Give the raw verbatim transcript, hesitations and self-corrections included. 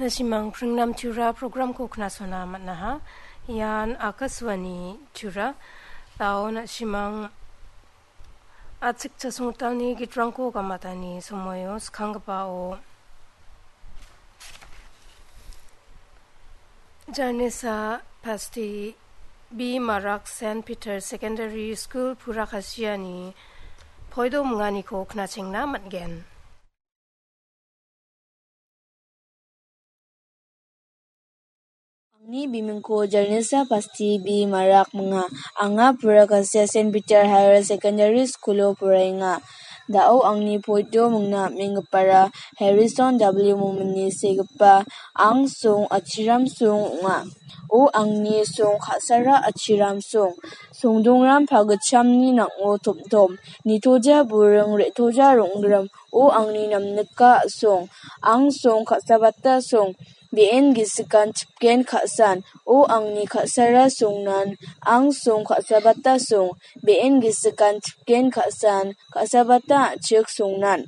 Na·simang Pringnam Tura programko knasona man·aha. Ian Akashvani Tura. Dao na·simang achik chasongtalni gitrangko gamatani somoio skanggipao Janisa Pasti B Marak Saint Peter Secondary School Purakasiani poido minganiko knachengna man·gen. Angni bimingko Janisa Pasti B Marak minga. Anga Purakasia Saint Peter Higher Secondary School-o poraenga. Dao angni poido mingna am·enggipara Harrison W Momini segipa angsong achiram song ong·a. O angni song ka·sara achiram song. Songdongram pagitchamni nang·o tomtom. Nitoja buring re·toja rong·grim. O angni namnika song. Angsong ka·sabata song. Be·en gisikan chipgen ka·san. O angni ka·sara songnan. Angsong ka·sabata song. Be·en gisikan chipgen ka·san. Ka·sabata a·chik songnan.